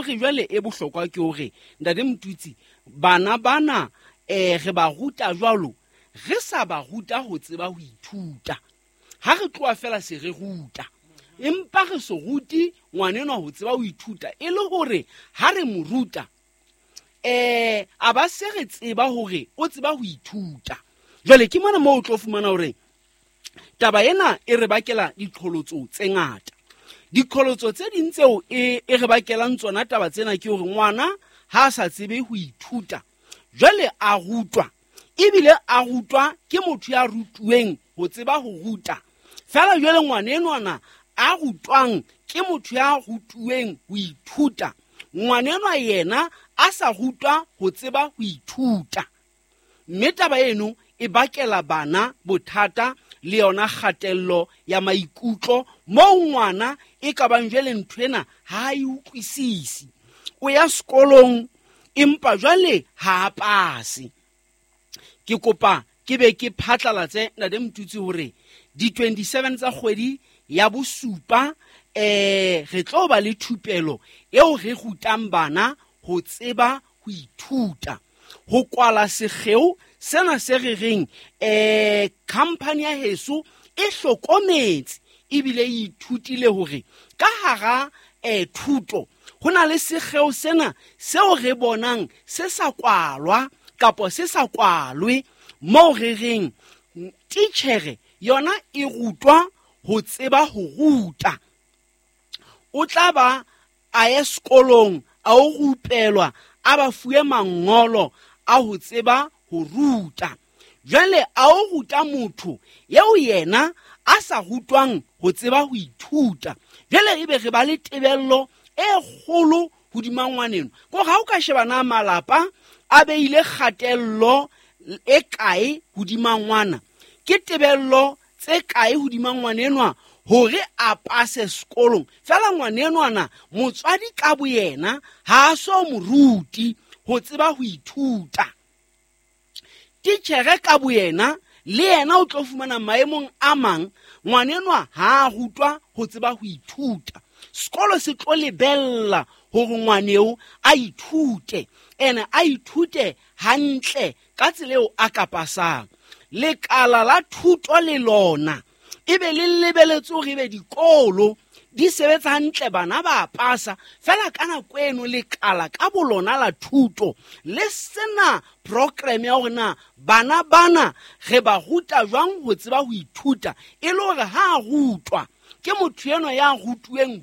hore jwale e bohlokwa ke hore ntate Motutsi, bana bana re ba ruta jwalo, re sa ba ruta ho tseba ho ithuta. Ha re tloha fela se re ruta, empa re se rute ngwanenwa ho tseba ho ithuta, e le hore ha re mo ruta a ba se re tseba hore o tseba ho ithuta. Jwale ke mona moo o tlo fumana hore taba ena e re bakela diqholotso tse ngata. Diqholotso tse ding tseo e re bakelang tsona taba tsena ke hore ngwana ha a sa tsebe ho ithuta, jwale a rutwa, ebile a rutwa ke motho ya rutuweng ho tseba ho ruta. Fela jwale ngwana enwana a rutwang ke motho ya rutuweng ho ithuta, ngwanenwa yena a sa rutwa ho tseba ho ithuta. Mme taba eno e bakela bana bothata le yona kgatello ya maikutlo, moo ngwana e ka bang jwale ntho ena ha a e utlwisise. O ya sekolong empa jwale ha a pase. Ke kopa ke be ke phatlalatse ntate Motutsi hore di 27 tsa kgwedi ya bosupa re tlo ba le thupelo eo re rutang bana ho tseba ho ithuta, ho kwala sekgeo sena se re reng company ya heso e hlokometse ebile e ithutile hore ka hara thuto ho na le sekgeo sena seo re bonang se sa kwalwa kapa se sa kwalwe, moo re reng titjhere yona e rutwa ho tseba ho ruta. O tla ba a ye sekolong a o rupelwa, a ba fuwe mangolo a ho tseba ho ruta. Jwale a o ruta motho eo yena a sa rutwang ho tseba ho ithuta. Jwale ebe re ba le tebello e kgolo hodima ngwaneno. Ko ha o ka sheba na malapa a beile kgatello e kae hodima ngwana, ke tebello tse kae hodima ngwanenwa hore a pase sekolong. Fela ngwanenwana motswadi ka boyena ha a so mo ruti ho tseba ho ithuta. Titjhere ka boyena le yena o tlo fumana maemong a mang ngwanenwa ha a rutwa ho tseba ho ithuta. Sekolo se tlo lebella hore ngwaneo a ithute, ene a ithute hantle ka tsela eo a ka pasang. Lekala la thuto le lona ebe le lebeletse hore ebe dikolo di sebetsa hantle, bana ba pasa. Fela ka nako eno lekala ka bolona la thuto le sena program ya hore na bana bana re ba ruta jwang ho tseba ho ithuta, e le hore ha a rutwa ke motho enwa ya rutuweng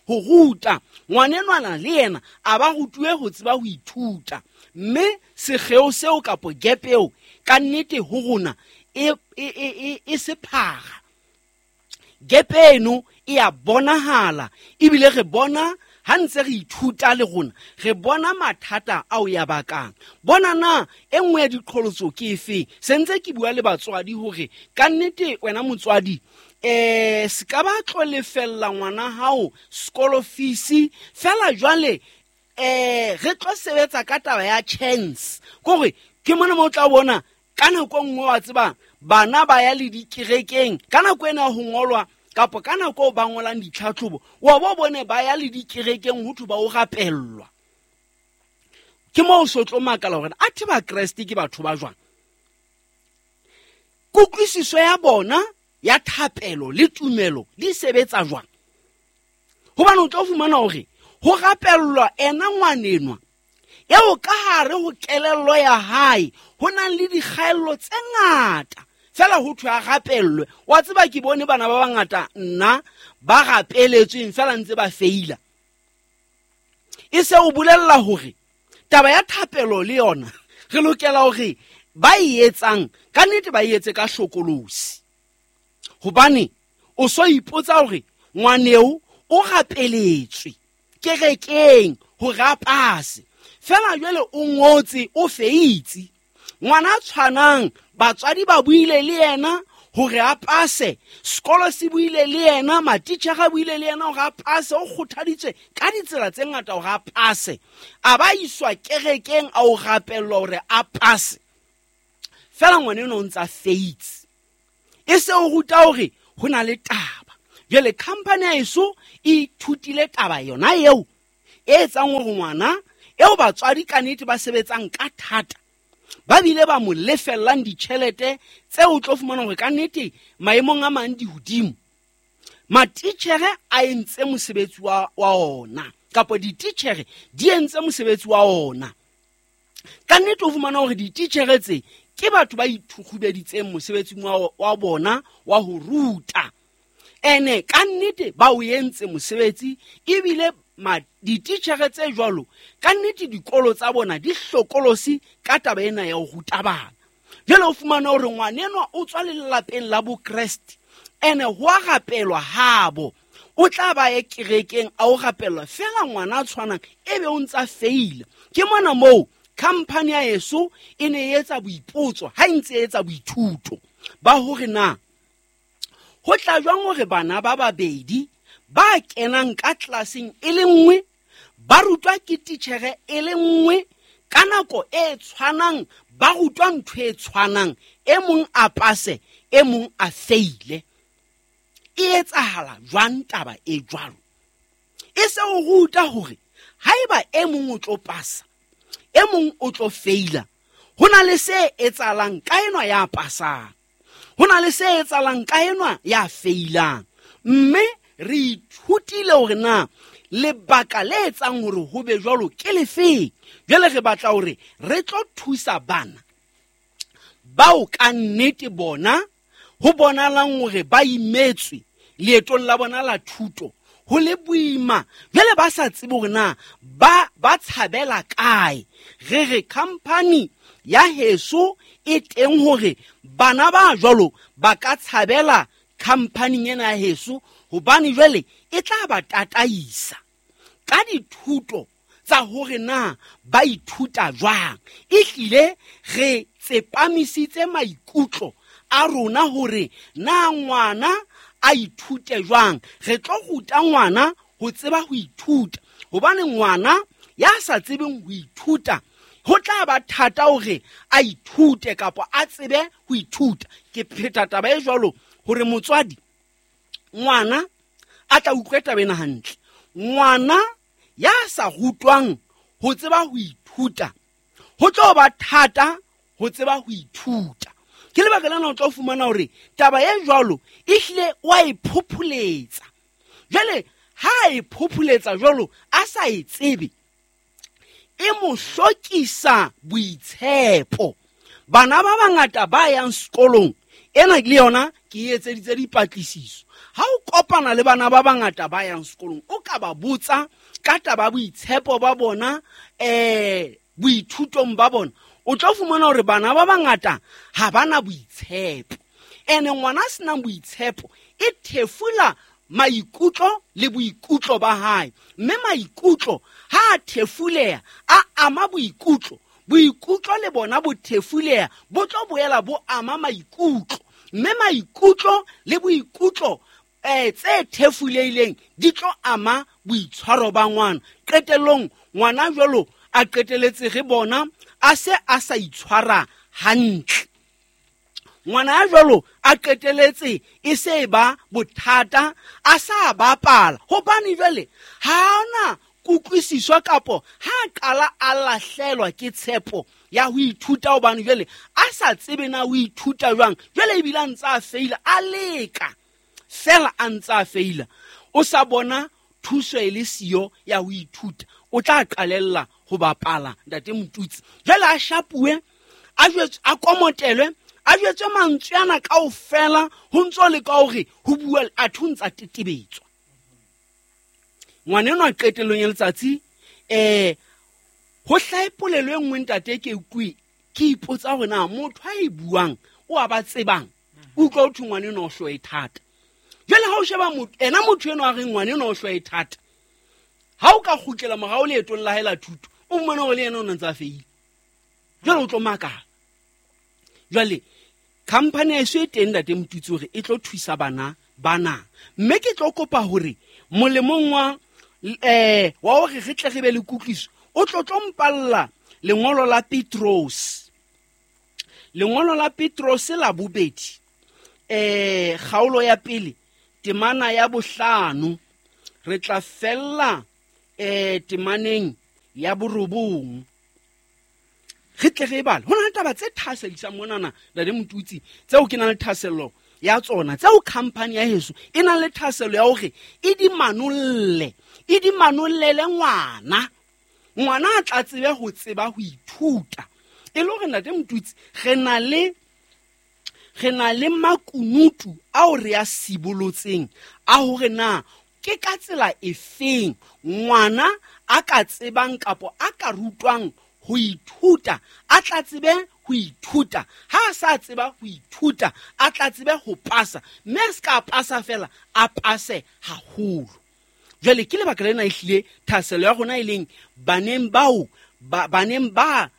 ho ruta, ngwanenwana le yena a ba rutuwe ho tseba ho ithuta. Mme sekgeo seo kapo gap eo ka nnete ho rona e sephara. Gap eno e a bonahala, ebile re bona ha ntse re ithuta le rona re bona mathata ao ya bakang. Bona na e nngwe ya diqholotso ke efe? Se ntse ke bua le batswadi hore ka nnete wena motswadi se ka ba tlo lefella ngwana hao sekolo fees fela jwale re tlo sebetsa ka taba ya chance. Kore ke mona mo tla bona ka nako nngwe wa tseba bana ba ya le dikerekeng ka nako ena ho ngolwa kapa ka nako ba ngolang ditlhatlhobo, wa bo bone ba ya le dikerekeng ho thwe ba o rapellwa. Ke moo o so tlo makala hore athe ba Kreste ke batho ba jwang. Kutlwisiso ya bona ya thapelo le tumelo di sebetsa jwang? Hobane o tlo fumana hore ho rapellwa ena ngwanenwa eo ka hare ho kelello ya hae ho nang le dikgaello tse ngata, fela ho thwe a rapellwe. Wa tseba ke bone bana ba bangata nna ba rapeletsweng fela ntse ba feila. E se o bolella hore taba ya thapelo le yona re lokela hore ba e etsang ka nnete ba e etse ka hlokolosi. Hobane o so ipotsa hore ngwaneo o rapeletswe kerekeng hore a pase, fela jwale o ngotse o feitse. Ngwana tshwanang batswadi ba buile le yena hore a pase, sekolo se buile le yena, matitjhere a buile le yena hore a pase, o kgothaditswe ka ditsela tse ngata hore a pase, a ba iswa kerekeng a o rapellwa hore a pase, fela ngwana enwa o ntsa feitse. E se o ruta hore ho na le taba. Jwale company ya heso e ithutile taba yona eo e etsang hore ngwana eo batswadi ka nnete ba sebetsang ka thata ba bile ba mo lefellang ditjhelete tseo o tlo fumana hore ka nnete maemong a mang di hodimo. Matitjhere a entse mosebetsi wa ona kapa dititjhere di entse mosebetsi wa ona. Ka nnete o fumana hore dititjhere tse ke batho ba ithukgubeditseng mosebetsing wa bona wa ho ruta. Ene ka nnete ba o entse mosebetsi ebile dititjhere tse jwalo ka nnete dikolo tsa bona di hlokolosi ka taba ena ya ho ruta bana. Jwale o fumana hore ngwanenwa o tswa lelapeng la Bokreste ene ho a rapelwa habo, o tla ba ye kerekeng a o rapelwa fela ngwana a tshwanang ebe o ntsa feila. Ke mona moo khampani ya heso e ne e etsa boipotso ha e ntse e etsa boithuto ba hore na ho tla jwang hore bana ba babedi ba kenang ka tlelaseng e le nngwe ba rutwa ke titjhere e le nngwe ka nako e tshwanang, ba rutwa ntho e tshwanang, e mong a pase e mong a feile. E etsahala jwang taba e jwalo? E se o ruta hore haeba e mong o tlo pasa e mong o tlo feila, ho na le se etsahalang ka enwa ya pasang, ho na le se etsahalang ka enwa ya feilang. Mme re ithutile hore na lebaka le etsang hore ho be jwalo ke lefeng. Jwale re batla hore re tlo thusa bana bao ka nnete bona ho bonalang hore ba imetswe leetong la bona la thuto, ho le boima, jwale ba sa tsebe hore na ba tshabela kae. Re re khampani ya heso e teng hore bana ba jwalo ba ka tshabela khampaning ena ya heso, hobane jwale e tla ba tataisa ka dithuto tsa hore na ba ithuta jwang. Ehlile re tsepamisitse maikutlo a rona hore na ngwana a ithute jwang. Re tlo ruta ngwana ho tseba ho ithuta, hobane ngwana ya sa tsebeng ho ithuta ho tla ba thata hore a ithute kapa a tsebe ho ithuta. Ke pheta taba e jwalo hore motswadi ngwana a tla utlwe taba ena hantle. Ngwana ya sa rutwang ho tseba ho ithuta ho tlo ba thata ho tseba ho ithuta. Ke lebaka lena o tlo fumana hore taba e jwalo ehlile wa e phopholetsa. Jwale ha e phopholetsa jwalo a sa e tsebe, e mo hlokisa boitshepo. Bana ba bangata ba yang sekolong ena le yona ke e etseditse dipatlisiso. Ha o kopana le bana ba bangata ba yang sekolong, o ka ba botsa ka taba boitshepo ba bona boithutong ba bona, o tlo fumana hore bana ba bangata ha bana boitshepo. Ene ngwana a senang boitshepo e thefula maikutlo le boikutlo ba hae, mme maikutlo ha a thefuleha a ama boikutlo, boikutlo le bona bo thefuleha bo tlo boela bo ama maikutlo, mme maikutlo le boikutlo tse thefulehileng di tlo ama boitshwaro ba ngwana. Qetellong ngwana jwalo a qeteletse re bona a se a sa itshwara hantle. Ngwana ya jwalo a qeteletse e se ba bothata, a sa bapala, hobane jwale ha ona kutlwisiso kapo ha qala a lahlelwa ke tshepo ya ho ithuta, hobane jwale a sa tsebe na ho ithuta jwang. Jwale ebile a ntse a feila, a leka fela a ntse a feila, o sa bona thuso e le siyo ya ho ithuta, o tla qalella ho bapala ntate Motutsi. Jwale a shapuwe, a jwetswe, a komotelwe, a jwetswe mantswe ana kaofela, ho ntso le ka hore ho bua a thuntsa tetebetswa. Ngwana enwa qetellong ya letsatsi ho hlahe polelo e nngwe ntate ke utlwe ke ipotsa hore na motho a e buang o a ba tsebang, o utlwa ho thwe ngwana enwa o hloe thata. Jwale ha o sheba motho ena, motho enwa a reng ngwana enwa o hloe thata, ha o ka kgutlela morao leetong la hae la thuto, o mmone hore le yena o ne ntse a feile. Jwale o tlo makala. Jwale khampani ya eso e teng ntate Motutsi hore e tlo thusa bana bana, mme ke tlo kopa hore molemong wa hore re tle re be le kutlwiso, o tlo tlo mpalla lengolo la Petros. Lengolo la Petros la bobedi, kgaolo ya pele temana ya bohlano, re tla fella Temaneng ya borobong re tle re e bale. Ho na le taba tse thahasellisang monana, Ntate Motutsi, tseo ke nang le thahasello ya tsona, tseo company ya heso e nang le thahasello ya hore e di manolle, e di manollele ngwana. Ngwana a tla tsebe ho tseba ho ithuta. E le hore, Ntate Motutsi, re na le makunutu ao re a sibolotseng a hore na ke ka tsela efeng ngwana a ka tsebang kapo a ka rutwang ho ithuta, a tla tsebe ho ithuta. Ha a sa tseba ho ithuta, a tla tsebe ho pasa, mme a se ka pasa fela, a pase haholo. Jwale ke lebaka lena ehlile thahasello ya rona e leng baneng bao baneng ba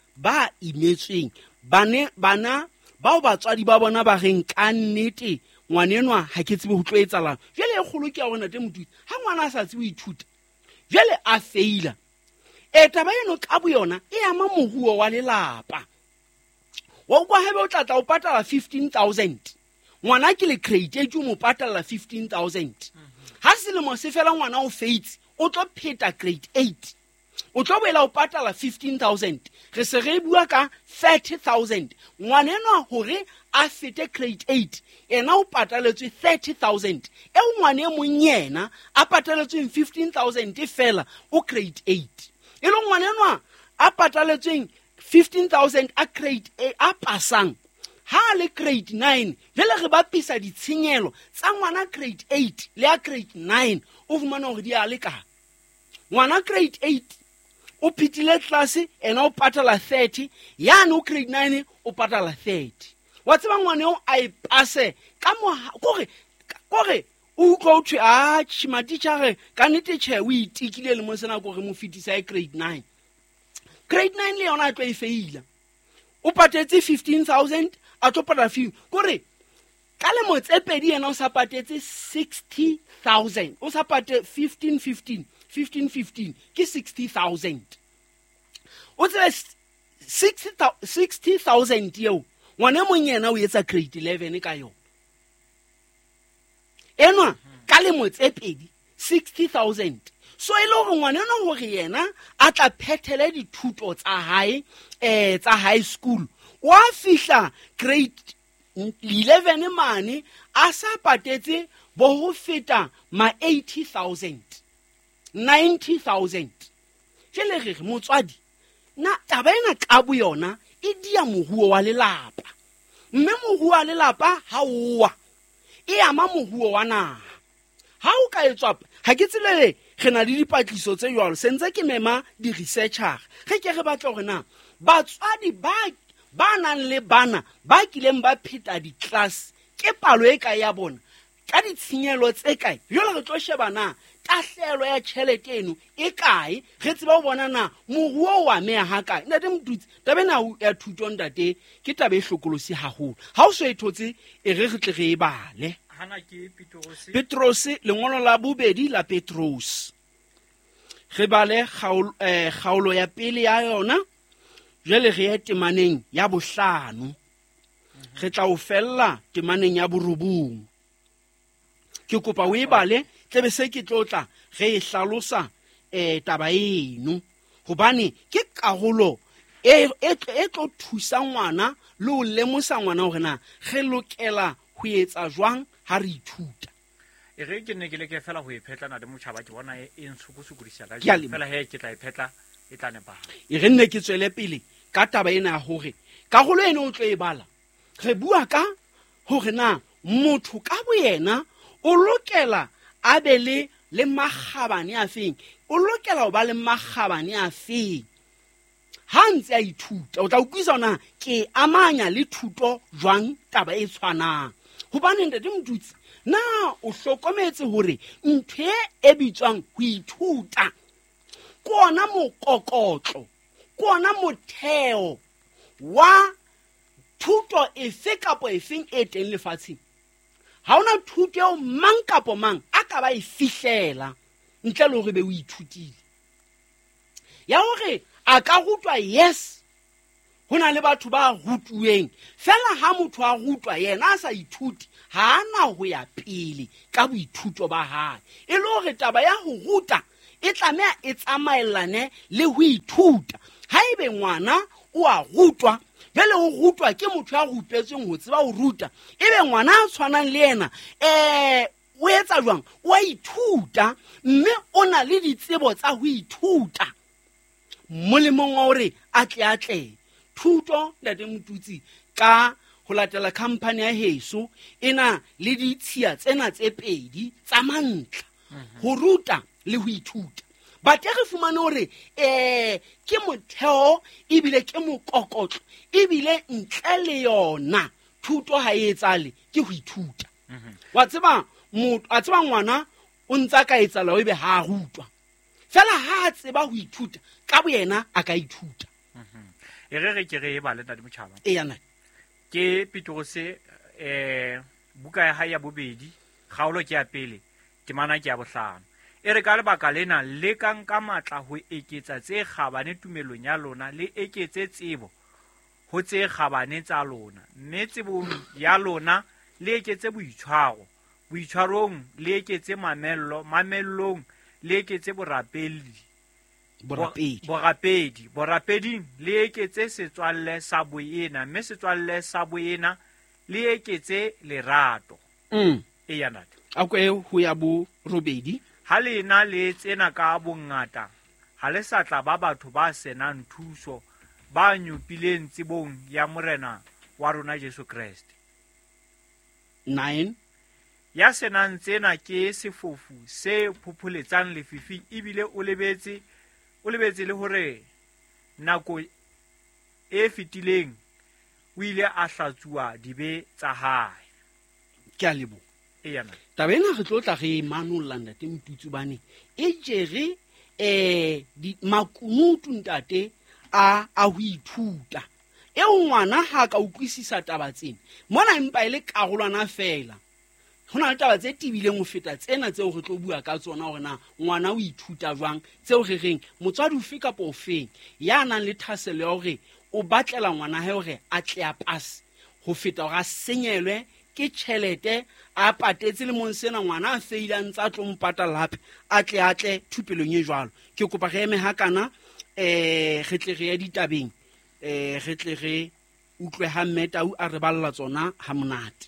imetsweng, bana bao batswadi ba bona ba reng ka nnete ngwanenwa ha ke tsebe ho tlo etsalang. Jwale e kgolo ke ya hore, Ntate Motutsi, ha ngwana a sa tsebe ho ithuta, jwale a feila, e taba eno ka boyona e ama moruo wa lelapa. Wa utlwa, haebe o tlatla o patala 15 000, ngwana ke le grade 8, o mo patalla 15 000, ha selemo se fela ngwana o feitse, o tlo pheta grade 8, o tlo boela o patala 15 000, re se re bua ka 30 000. Ngwana enwa hore a fete grade 8, yena o pataletswe 30 000, eo ngwana e mong yena a pataletsweng 15 000 fela o grade 8. E le ngwana enwa a pataletsweng 15 000 a grade a pasang ha a le grade 9. Jwale re bapisa ditshenyelo tsa ngwana grade 8 le ya grade 9, o fumana hore di a lekana. Ngwana grade 8 o phethile class, ena o patala 30, yane o grade 9 o patala 30. Wa tseba, ngwana eo a e pase ka kore o utlwa o thwe a matitjhare ka nnete tjhe, o itekile le mo sena kore mo fetisa e grade 9. Grade 9 le yona a tlo e feila, o patetse 15 000, a tlo patala 15, kore ka lemo tse pedi yena o sa patetse 60 000, o sa pate 15 15 15 15 ke 60 000. O tsebe 60 000 eo ngwana e mong yena o etsa grade 11 ka yona enwa ka lemo tse pedi, 60 000. So e le hore ngwana enwa hore yena a tla phethele dithuto tsa hae tsa high school, wa fihla grade 11 mane a sa patetse bo ho feta ma 80 000, 90 000. Jele re re motswadi, na taba ena ka boyona e dia moruo wa lelapa, mme moruo wa lelapa ha owa e ama moruo wa naha. Ha o ka etswa, ha ke tsebe, re na le dipatliso tse jwalo, sentse ke mema di-researcher, re ke re batla hore na batswadi ba nang le bana ba kileng ba pheta di-class ke palo e kae ya bona, ka ditshenyehelo tse kae. Jwale re tlo sheba na tahlehelo ya tjhelete eno e kae, re tseba ho bona na moruo o ameha ha kae. Ntate Motutsi, taba ena ya thuto, ntate, ke taba e hlokolosi haholo. Ha o so e thotse, e re re tle re e bale. Hana ke Petrose. Petrose, lengolo la bobedi la Petrose, re bale kgaolo ya pele ya yona. Jwale re ye temaneng ya bohlano, re tla o fella temaneng ya borobong. Ke kopa o e bale, tlebe se ke tlo tla re e hlalosa taba eno, hobane ke karolo e tlo thusa ngwana le ho lemosa ngwana hore na re lokela ho etsa jwang ha re ithuta. E re ke ne ke leke fela ho e phetlana le motjhaba, ke bona e ntshokosokodisa ka Ke a leboha. fela he ke tla e phetla, e tla nepahala. E re nne ke tswele pele ka taba ena ya hore karolo eno o tlo e bala, re bua ka hore na motho ka boyena o lokela a be le makgabane a feng, o lokela ho ba le makgabane a feng ha ntse a ithuta. O tla utlwisa hore na ke amanya le thuto jwang taba e tshwanang, hobane, Ntate Motutsi, na o hlokometse hore ntho e bitswang ho ithuta ke ona mokokotlo, ke ona motheo wa thuto efe kapo efeng e teng lefatsheng? Ha hona thuto eo mang kapo mang a ka ba e fihlela ntle le hore be o ithutile. Ya hore a ka rutwa, yes, ho na le batho ba rutuweng fela. Ha motho a rutwa yena a sa ithuti, ha ana ho ya pele ka boithuto ba hae. E le hore taba ya ho ruta E tlameha e tsamaellane le ho ithuta. Haebe ngwana o a rutwa, jwale o rutwa ke motho ya rupetsweng ho tseba ho ruta, ebe ngwana a tshwanang le yena o etsa jwang? O a ithuta, mme o na le ditsebo tsa ho ithuta molemong wa hore a tle atlehe. Thuto, Ntate Motutsi, ka ho latela khampani ya heso e na le ditshiya tsena tse pedi tsa mantlha, ho ruta le ho ithuta. Bate re fumane hore ke motheo ebile ke mokokotlo, ebile ntle le yona thuto ha e etsale, ke ho ithuta. Wa tseba motho, a tseba ngwana o ntsa ka etsala ebe ha a rutwa. Fela ha a tseba ho ithuta ka boyena a ka ithuta. E re re ke re e bale, Ntate Motjhaba. Eya, ntate. Ke Petrose, buka ya hae ya bobedi, kgaolo ke ya pele, temana ke ya bohlano. E re ka lebaka lena lekang ka matla ho eketsa tse kgabane tumelong ya lona, le eketse tsebo ho tse kgabane tsa lona, mme tsebong ya lona le eketse boitshwaro, boitshwarong le eketse mamello, mamellong le eketse borapedi, Borapedi. Borapedi, borapeding le eketse setswalle sa boena, mme setswalle sa boena le eketse lerato. Eya, ntate. A ko e ho ya bo robedi. Ha le na le tsena ka bongata, ha le sa tla ba batho ba senang thuso, ba nyopileng tsebong ya Morena wa rona Jesu Kreste. 9. Ya senang tsena ke sefofu se phopholetsang lefifing, ebile o lebetse le hore nako e fetileng o ile a hlatsuwa dibe tsa hae. Ke a leboha. Eya, ntate. Taba ena re tlo tla re e manolla, Ntate Motutsi, hobane e jere, makunutu, ntate, a ho ithuta. Eo ngwana ha ka utlwisisa taba tsena, mona empa e le karolwana fela. Ho na le taba tse tebileng ho feta tsena tseo re tlo bua ka tsona, hore na ngwana o ithuta jwang, tseo re reng motswadi ofe kapa ofeng ya nang le thahasello ya hore o batlela ngwana hae hore a tle a pase, ho feta hore a senyelwe ke tjhelete a patetse lemong sena, ngwana a feile a ntse a tlo mo patala hape, a tle a tle thupelong e jwalo. Ke kopa re eme hakana, re tle re ye ditabeng, re tle re utlwe ha Mme Tau a re balla tsona ha monate.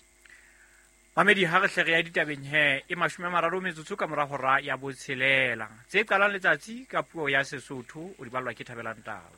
Mamedi, ha re hle re ya ditabeng he, e 30 metsotso ka mora hora ya botshelela. Tse qalang letsatsi ka puo ya Sesotho, o di ballwa ke Thabelang Tau.